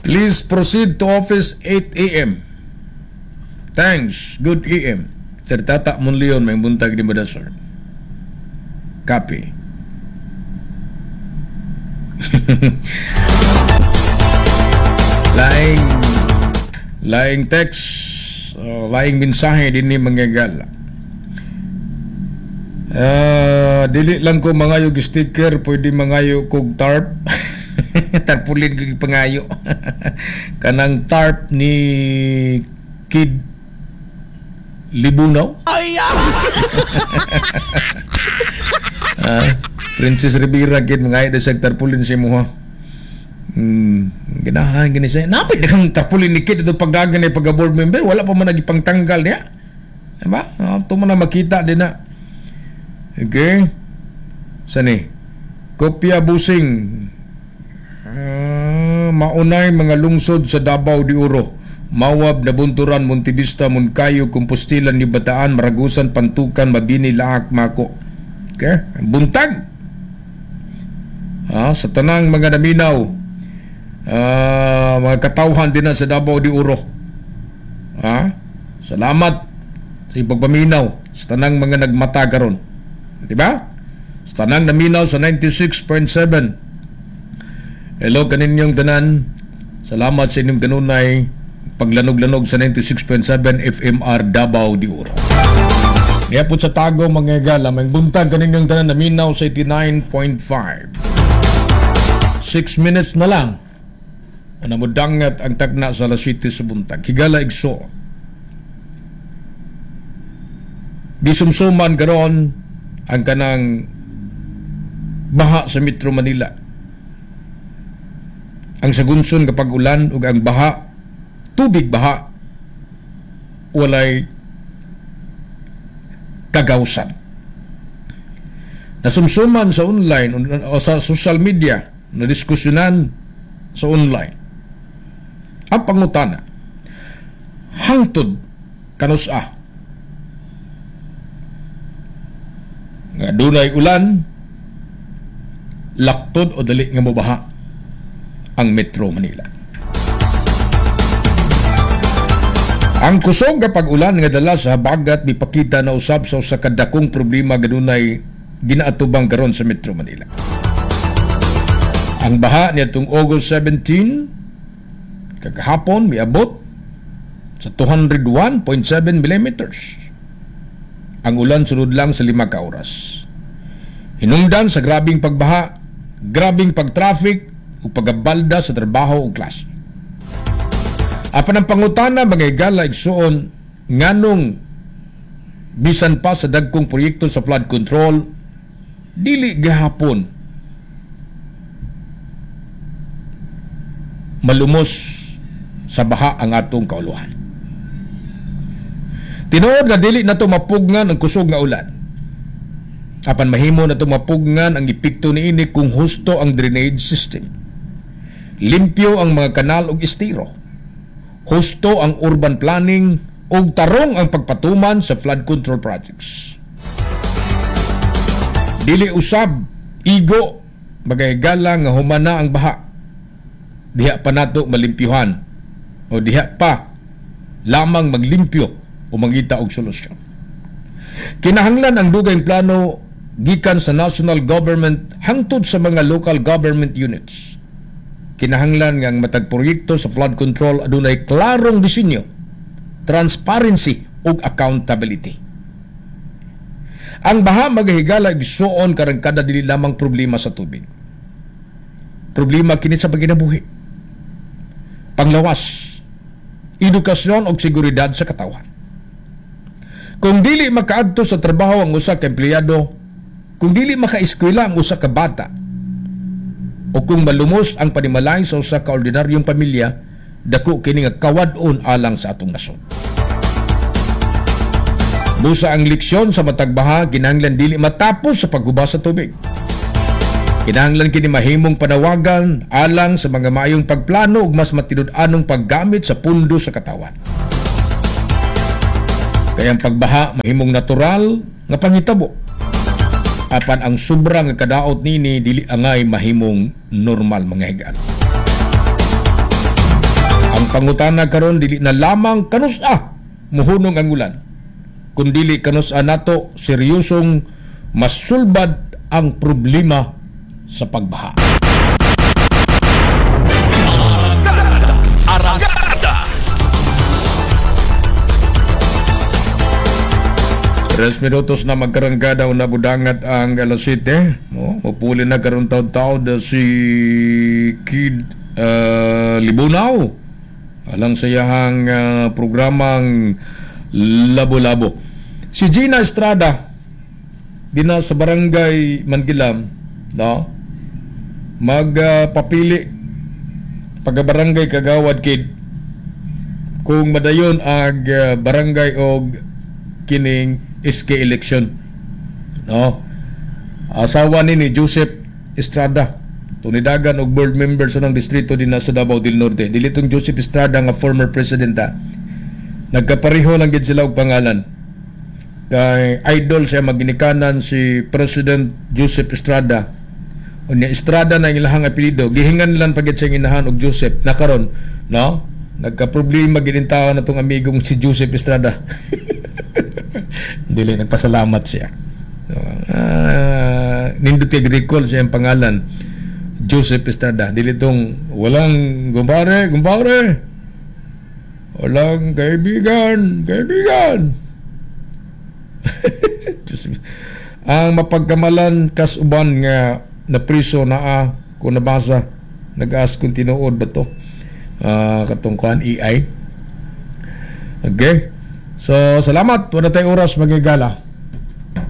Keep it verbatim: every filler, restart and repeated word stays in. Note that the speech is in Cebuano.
Please proceed to office eight a m. Thanks. Good A M. Sir Tata Monleon, maayong buntag di ba, sir? Copy. Laing laing text, uh, laing mensahe din ni mga higala. Uh, dili lang ko mangayo og sticker, pwede mangayo kog tarp. Tarpaulin ko pangayo. Kanang tarp ni Kid Libunaw. Ay, Ah, Princess Rivera kid mangayo na sa tarpaulin sa imo ha. Hmm, ganahan gani siya. Napit na kang tarpaulin ni Kid ito pagdagan ni pagka board member, wala pa man nagipangtanggal niya. Diba? Ah, ito mo na makita din na. Okay. Sani? Kopya busing. Ah, maunay mga lungsod sa Davao de Oro. Mawab, Nabunturan, Montevista, Monkayo, Compostela, New Bataan, Maragusan, Pantukan, Mabini, Laak, Mako. Okay? Buntag. Ah, sa tanang mga naminaw, ah, mga katawhan din na sa Davao de Oro. Ah, salamat sa iyong pagpaminaw sa tanang mga nagmata karon. Di ba? Sa tanang naminaw sa ninety-six point seven. Hello kaninyong tanan. Salamat sa inyong kanunay paglanog-lanog sa ninety-six point seven F M R Davao de Oro. Niya po sa Tago, mga higala, maayong buntag kaninyong tanan naminaw sa eighty-nine point five. Six minutes na lang. Ana mo dangat ang tagna sa alas siyete sa buntag. Higala igso. Gisumsuman karon ang kanang baha sa Metro Manila. Ang sagunson kapag ulan ug ang baha, tubig baha, walay kagawsan. Nasumsuman sa online o sa social media, na diskusyonan sa online. Ang pangutana, hangtod kanusa nga dunay ulan, laktod o dali nga mobaha ang Metro Manila? Ang kusog kapag ulan nga dala sa habagat mipakita na usab sa usa ka dakong problema ganunay ginaatubang karon sa Metro Manila. Ang baha niadtong August seventeen kagahapon miabot sa two hundred one point seven millimeters. Ang ulan sunod lang sa lima ka oras. Hinungdan sa grabing pagbaha, grabing pagtraffic ug pagabalda sa trabaho ug klase. Apan ang pangutana, mga higala igsuon, nganong bisan pa sa dagkong proyekto sa flood control, dili gahapon malumos sa baha ang atong kauluhan? Tinuod nga dili nato mapugngan ang kusog nga ulan. Apan mahimo nato mapugngan ang epekto niini kung husto ang drainage system. Limpyo ang mga kanal ug estero. Husto ang urban planning ug tarong ang pagpatuman sa flood control projects. Dili usab igo, mga higala, nga humana ang baha, diha pa nato malimpyuhan o diha pa lamang maglimpyo o mangita og solusyon. Kinahanglan ang dugayng plano gikan sa national government hangtod sa mga local government units. Kinahanglan nga ang matag proyekto sa flood control adunay klarong disenyo, transparency ug accountability. Ang baha, mga higala igsuon, karangkada dili lamang problema sa tubig. Problema kini sa pagkinabuhi, panglawas, edukasyon ug seguridad sa katawhan. Kung dili makaadto sa trabaho ang usa ka empleyado, kung dili makaeskwela ang usa ka bata, o kung malumos ang panimalay sa usa ka ordinaryong pamilya, dako kini nga kawad-on alang sa atong nasod. Busa ang leksyon sa matag baha kinahanglan dili matapos sa paghuba sa tubig. Kinahanglan kini mahimong panawagan alang sa mga maayong pagplano ug mas matinud-anong paggamit sa pundo sa katawan. Kaya ang pagbaha mahimong natural nga panghitabo. Apan ang sobra nga kadaot nini dili angay mahimong normal, mga higala. Ang pangutana karon dili na lamang kanus-a muhunong ang ulan, kundili kanus-a nato seryosong masulbad ang problema sa pagbaha. Arangkada! Arangkada! Tres minutos na magkarangkada o nabudangat ang alas siyete. No, mapuli na karon taud-taud si Kid uh, Libunaw. Alang sa iyahang uh, programang Labo-Labo. Si Gina Estrada dina sa barangay Mangilam, no? Magpapili uh, pagka-barangay kagawad Kid kung madayon ag uh, barangay og kining S K election. No? Asawa ni ni Joseph Estrada, tunidagan og board member sa ng distrito din sa Davao del Norte. Dili tong Joseph Estrada nga former president ha. Nagkapareho lang gid sila og pangalan. Kay idol siya maginikanan si President Joseph Estrada. Unya Estrada na ang ilahang apelyido, gihingan lang pagit siya inahan og Joseph. Nakaron, no? Nagka-problema gid in tao na tong amigong si Joseph Estrada. Dili nagpasalamat siya. Uh, nindot kay recall siya ang pangalan Joseph Estrada. Dili tong walang gumbare, gumbare. Walang kaibigan, kaibigan. Ang mapagkamalan kas uban nga napriso naa kung nabasa, nag-ask kung tinuod ba to uh, katong kuan E I. Okay. So salamat, wala tayo oras magigala.